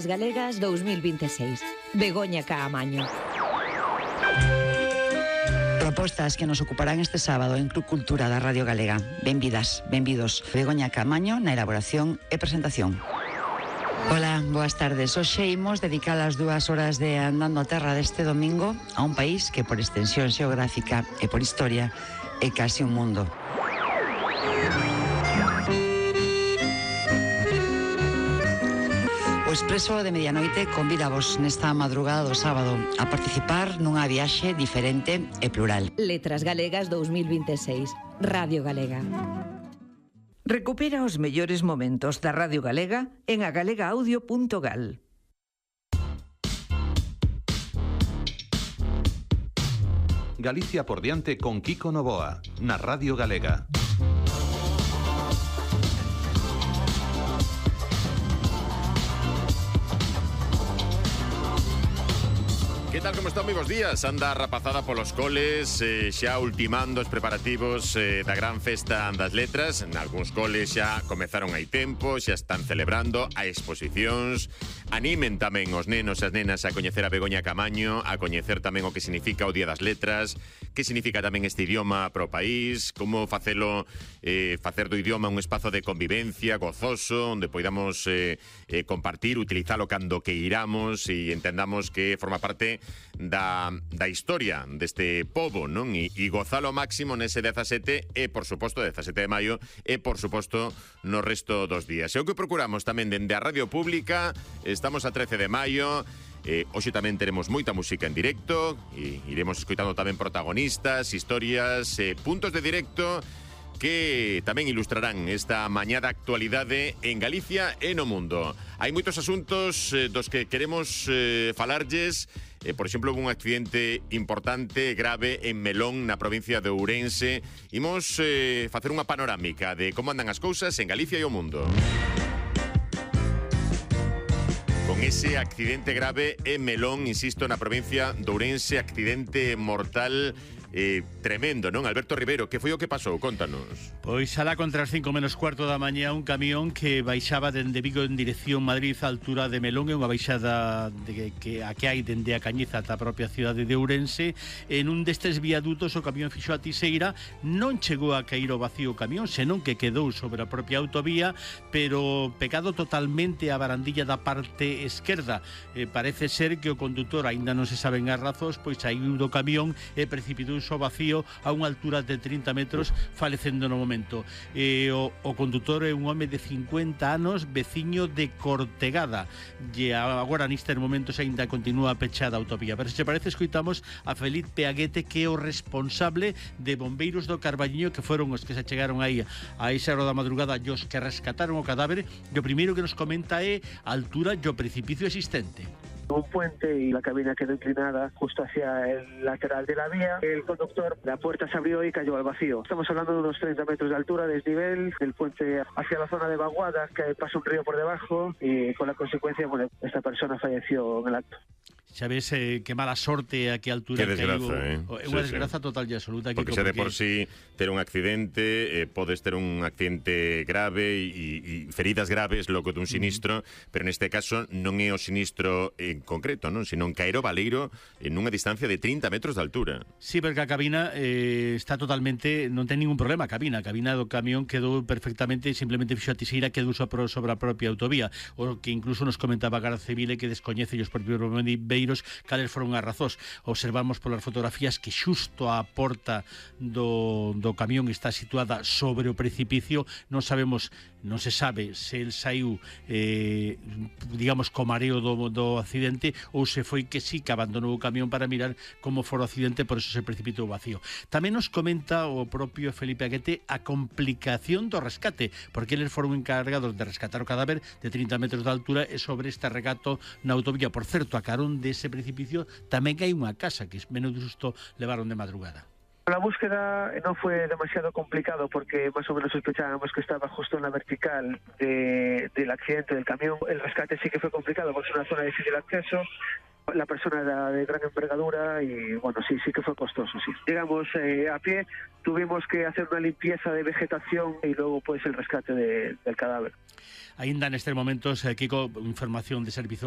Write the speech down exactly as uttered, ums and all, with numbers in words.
Galegas dos mil veintiséis. Begoña Caamaño. Propostas que nos ocuparán este sábado en Club Cultura da Radio Galega. Benvidas, benvidos. Begoña Caamaño na elaboración e presentación. Ola, boas tardes. Hoxe imos dedicar as dúas horas de Andando a Terra deste domingo a un país que por extensión xeográfica e por historia é casi un mundo. O Expreso de Medianoite convidavos nesta madrugada do sábado a participar nunha viaxe diferente e plural. Letras Galegas dos mil veintiséis. Radio Galega. Recupera os mellores momentos da Radio Galega en agalega-audio punto gal. Galicia por diante con Kiko Novoa, na Radio Galega. Que tal, como están, moi bons días? Anda rapazada polos coles, eh, xa ultimando os preparativos eh, da gran festa das letras. En algúns coles xa comezaron hai tempo, xa están celebrando a exposicións. Animen tamén os nenos e as nenas a coñecer a Begoña Caamaño, a coñecer tamén o que significa o Día das Letras, que significa tamén este idioma para o país, como facelo, eh, facer do idioma un espazo de convivencia gozoso, onde poidamos eh, eh, compartir, utilizalo cando que iramos e entendamos que forma parte da, da historia deste pobo, non? E, e gozalo ao máximo nese dezasete e, por suposto, dezasete de maio e, por suposto, no resto dos días. E o que procuramos tamén dende a Radio Pública, estamos a trece de maio, eh, hoxe tamén teremos moita música en directo e iremos escoitando tamén protagonistas, historias, eh, puntos de directo que tamén ilustrarán esta mañá da actualidade en Galicia e no mundo. Hai moitos asuntos eh, dos que queremos eh, falarlles. Eh, por exemplo, un accidente importante, grave, en Melón, na provincia de Ourense. Imos eh, facer unha panorámica de como andan as cousas en Galicia e o mundo. Con ese accidente grave en Melón, insisto, na provincia de Ourense, accidente mortal eh, tremendo, non? Alberto Rivero, que foi o que pasou? Contanos. Pois alá contra as cinco menos cuarto da mañá, un camión que baixaba dende Vigo en dirección Madrid á altura de Melón, é unha baixada de que, a que hai dende a Cañiza ata a propia cidade de Ourense. En un destes viadutos o camión fixo a tiseira, non chegou a cair o vacío o camión, senón que quedou sobre a propia autovía, pero pegado totalmente a barandilla da parte esquerda. Eh, parece ser que o condutor, aínda non se saben as razóns, pois saiu do camión e precipitou ao vacío a unha altura de trinta metros, falecendo no momento. E o, o condutor é un home de cincuenta anos, veciño de Cortegada, e agora nestes momentos aínda continúa pechada a autovía. Pero se parece, escoitamos a Felipe Aguete, que é o responsable de bombeiros do Carballiño, que foron os que se chegaron aí a esa hora da madrugada e os que rescataron o cadáver. E o primeiro que nos comenta é a altura e o precipicio existente. Un puente y la cabina quedó inclinada justo hacia el lateral de la vía. El conductor, la puerta se abrió y cayó al vacío. Estamos hablando de unos treinta metros de altura, desnivel, del puente hacia la zona de vaguadas, que pasa un río por debajo, y con la consecuencia, bueno, esta persona falleció en el acto. Xa ves eh, que mala sorte a que altura que desgraza, caiu. Eh? É unha sí, desgraza sí. total e absoluta. Porque xa de por sí ter un accidente, eh, podes ter un accidente grave e, e feridas graves logo dun sinistro, mm. pero neste caso non é o sinistro en concreto, non, sino caer o baleiro en unha distancia de trinta metros de altura. Sí, porque a cabina eh, está totalmente, non ten ningún problema a cabina, a cabina do camión quedou perfectamente, simplemente fixo a tiseira, quedou sobre a propia autovía, o que incluso nos comentaba a Garda Civil que descoñece os propios bombeiros cales foron as razóns. Observamos polas fotografías que xusto a porta do, do camión está situada sobre o precipicio. Non sabemos, non se sabe se el saiu eh, digamos co mareo do, do accidente ou se foi que sí que abandonou o camión para mirar como fora o accidente, por eso se precipitou o vacío. Tamén nos comenta o propio Felipe Aguete a complicación do rescate, porque eles foron encargados de rescatar o cadáver de trinta metros de altura e sobre este regato na autovía. Por certo, a carón de ese precipicio tamén hai unha casa que menos de susto levaron de madrugada. La búsqueda no fue demasiado complicado porque más o menos sospechábamos que estaba justo en la vertical de, del accidente del camión. El rescate sí que fue complicado porque es una zona de difícil acceso. La persona era de gran envergadura y bueno, sí, sí que fue costoso, sí. Llegamos eh, a pie, tuvimos que hacer una limpieza de vegetación y luego pues el rescate de, del cadáver. Ainda nestes momentos, eh, Kiko, información de servizo